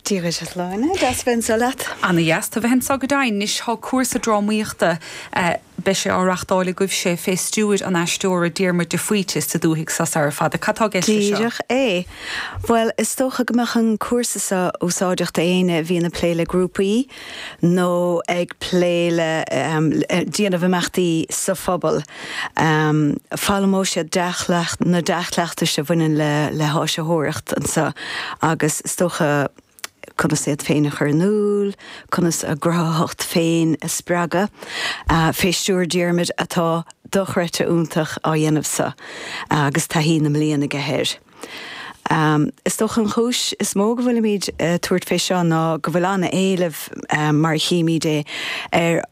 Dia dhuit a Shláine, deas a bheith anseo leat. Ana dheas tú a bheith anseo go deimhin. Anois tá cúrsa drámaíochta, beidh sé á reachtáil agaibhse fé stiúir an aisteora Diarmuid de Faoite sa dúthaigh seo sara fada. Cad tá i gceist leis seo? Díreach é. Bhuel, is dócha go mbeadh an cúrsa seo úsáideach d'éinne a bhíonn ag plé le grúpaí nó ag plé le déanamh imeachtaí sa phobal. Foghlaimeoidh siad dea-chleacht, na dea-chleachtais a bhaineann le le háisitheoireacht anseo agus is dócha conas iad féin a chur in iúl, conas a gcruthaitheacht féin a spreagadh. Fé stiúir Diarmuid atá dochreidte iontach á dhéanamh seo agus taithí na mblian aige air. Is dócha an chúis is mó go bhfuilimid ag tabhairt fé seo ná go bhfuil an-éileamh, mar a chímid é, ar,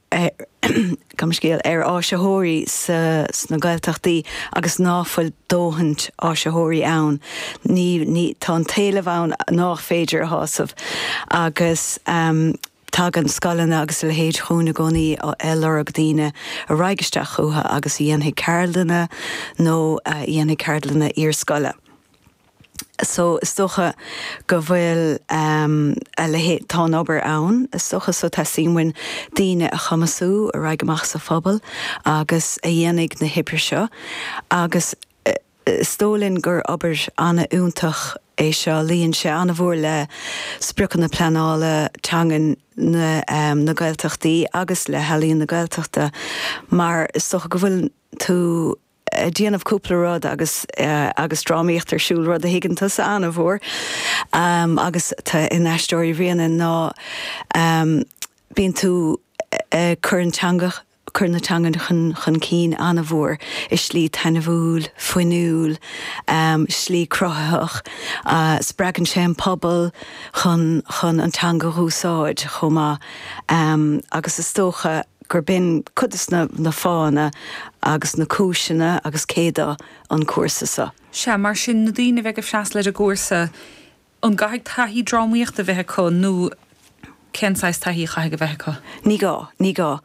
gabh mo scéal, ar áisitheoirí sna Gaeltachtaí agus ná fuil dóthaint áisitheoirí ann. Ní, ní, tá an t-éileamh ann nách féidir a shásamh agus. Tagann scoileanna agus a leithéid chugainn i gcónaí ag lorg daoine a raghaidh isteach chucu agus a dhéanfaidh ceardlanna nó a dhéanfaidh ceardlanna iarscoile. So is dócha go bhfuil a leithéid, tá an obair ann is dócha so teastaíonn uainn daoine a chumasú a raghaidh amach sa phobal agus a dhéanfaidh na hoibre seo agus Is dóigh linn gur obair an-fhiúntach é seo. Luíonn sé an-mhór le spriocanna pleanála teangan na Gaeltachtaí agus le hEalaíon na Gaeltachta mar is dócha go bhfuil tú ag déanamh cúpla rud agus agus drámaíocht ar siúl, rud a thuigeann tusa an-mhór agus in Aisteoirí Bhréanainn ná bíonn tú ag cur an teanga cur na teangan chun cinn an-mhór i slí taitneamhúil, fuinniúil, slí cruthaitheach. Spreagann sé an pobal chun chun an teanga dh'úsáid chomh maith agus is dócha gur b'in cuid des na fáthanna agus na cúiseanna agus cé do an cúrsa seo. Sea, mar sin, na daoine a bheidh ag freastal ar an gcúrsa, An gcaithfidh taithí drámaíochta a bheith acu nó cén saghas taithí a chaithfidh a bheith acu? Ní gá, ní gá.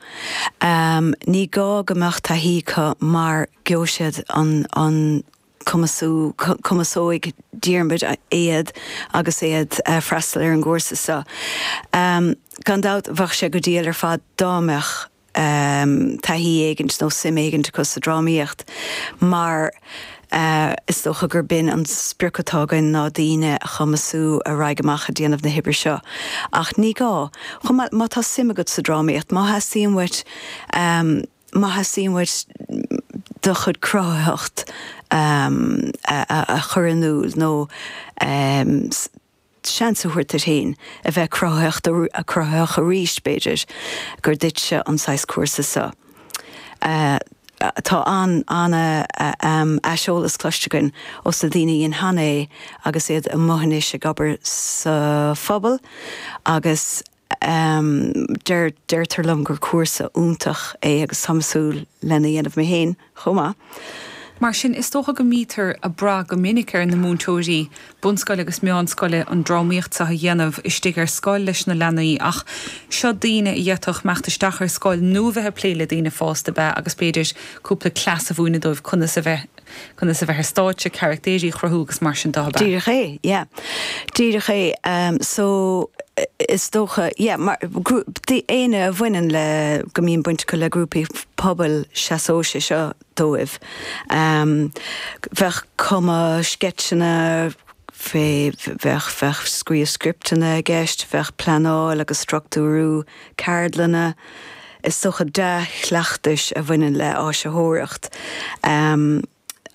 Ní gá go mbeadh taithí acu mar gheobhaidh siad an, an cumasú, cumasóidh Diarmuid iad agus iad freastal ar an gcúrsa seo. Gan dabht bheadh sé go diail ar fad dá mbeadh taithí éigint nó suim éigint acu sa drámaíocht mar is dócha gur b'in an sprioc atá againn ná daoine a chumasú a raghaidh amach ag déanamh na hoibre seo. Ach ní gá. Chomh maith, má tá suim agat sa drámaíocht, má theastaíonn uait, má theastaíonn uait do chuid cruthaitheacht a chur in iúl nó seans a thabhairt duit féin a bheith cruthaitheach arís, b'fhéidir gur duitse an saghas cúrsa seo. Tá an-aiseolas cloiste againn ós na daoine a dhein cheana é agus iad amuigh anois ag obair sa phobal agus deir, deirtear liom gur cúrsa iontach é agus táim ag súil lena dhéanamh mé féin chomh maith. Mar sin, is dócha go mbítear ag brath go minic ar na múinteoirí bunscoile agus meánscoile an drámaíocht seo a dhéanamh istigh ar scoil leis na leanaí ach seo daoine a d'fhéadfadh imeacht isteach ar scoil nó a bheith ag plé le daoine fásta ab ea agus b'fhéidir cúpla cleas a mhúineadh dóibh conas a bheith conas a bheith ar stáitse, carachtéirí a chruthú agus mar sin de, ab ea? Díreach é, yeah. Díreach é. So, is dócha, yeah, mar, éinne a bhaineann le, go mbíonn baint acu le grúpaí pobail, seasóidh sé seo dóibh. Bheadh cumadh sceitseanna, fé, bheadh, bheadh scríobh scripteanna i gceist, bheadh pleanáil agus struchtúrú ceardlanna, is dócha dea-chleachtais a bhaineann le áisitheoireacht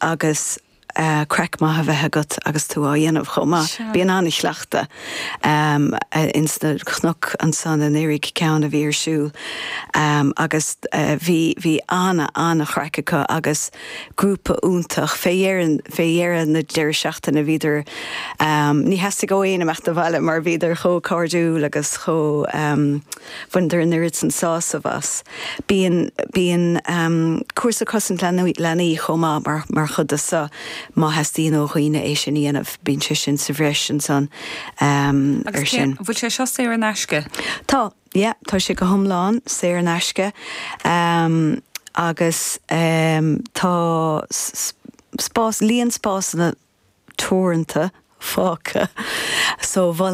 agus craic maith a bheith agat agus tú á dhéanamh chomh maith. Bíonn an-chleachtadh ins na cnoic ansan i nDoire ceann a bhí ar siúl agus bhí bhí an-an-chraic acu agus grúpa iontach. Fé dheireadh fé dheireadh na deireadh seachtaine bhíodar ní theastaigh ó éinne imeacht abhaile mar bhíodar chomh cairdiúil agus chomh Bhaineadar an oiread san sásamh as. Bíonn, bíonn cúrsa cosaint leanaí chomh maith mar, mar chuid de seo má theastaíonn ó dhaoine é sin a dhéanamh, bíonn sé sin sa bhreis ansan ar sin. Agus bhfuil sé seo saor in aisce? Tá, yeah, tá sé go hiomlán saor in aisce agus tá spás, líon spásanna teoranta fágtha so mholfainn.